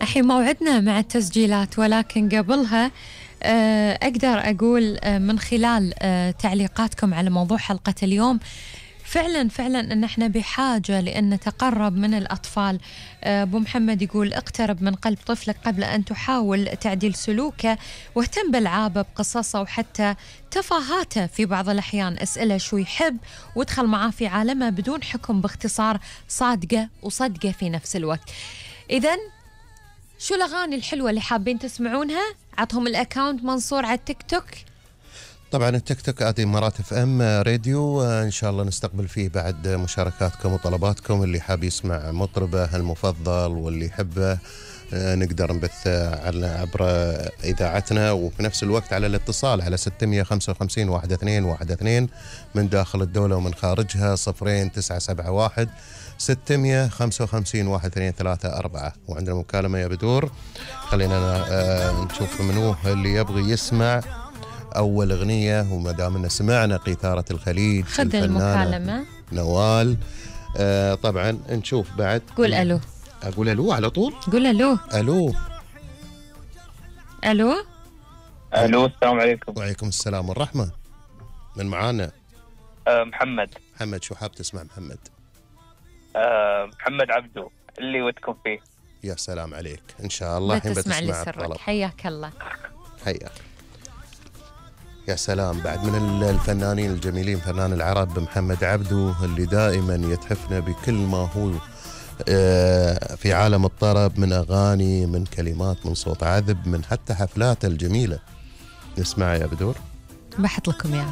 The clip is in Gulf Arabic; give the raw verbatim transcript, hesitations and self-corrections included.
الحين موعدنا مع التسجيلات، ولكن قبلها أقدر أقول من خلال تعليقاتكم على موضوع حلقة اليوم فعلا فعلا أن احنا بحاجة لأن نتقرب من الأطفال. أبو محمد يقول اقترب من قلب طفلك قبل أن تحاول تعديل سلوكه، واهتم بألعابه بقصصه وحتى تفاهاته في بعض الأحيان. اسأله شو يحب وادخل معاه في عالمه بدون حكم، باختصار صادقة وصدقة في نفس الوقت. إذن شو الأغاني الحلوة اللي حابين تسمعونها؟ عطهم الأكاونت منصور على التيك توك. طبعا التيك توك آدي إمارات اف ام راديو، ان شاء الله نستقبل فيه بعد مشاركاتكم وطلباتكم. اللي حاب يسمع مطربه المفضل واللي يحبه نقدر نبث على عبر اذاعتنا، وفي نفس الوقت على الاتصال على ستمية وخمسة وخمسين واحد اثنين واحد اثنين من داخل الدولة ومن خارجها صفرين تسعة سبعة واحد ستمية وخمسة وخمسين واحد اثنين ثلاثة أربعة. وعندنا مكالمة يا بدور، خلينا نشوف منو اللي يبغي يسمع أول أغنية. وما دامنا سمعنا قيثارة الخليج خذ المكالمة نوال. آه طبعا نشوف بعد. قول ألو. أقول ألو على طول. قول ألو. ألو ألو ألو السلام عليكم. وعليكم السلام والرحمة. من معانا؟ أه محمد. محمد شو حاب تسمع محمد؟ أه محمد عبدو اللي ودكم فيه. يا سلام عليك، إن شاء الله الحين بتسمع لي سرك. حياك الله. حياك. يا سلام، بعد من الفنانين الجميلين فنان العرب محمد عبدو اللي دائما يتحفنا بكل ما هو في عالم الطرب، من أغاني، من كلمات، من صوت عذب، من حتى حفلاته الجميلة. نسمع يا بدور. بحط لكم يا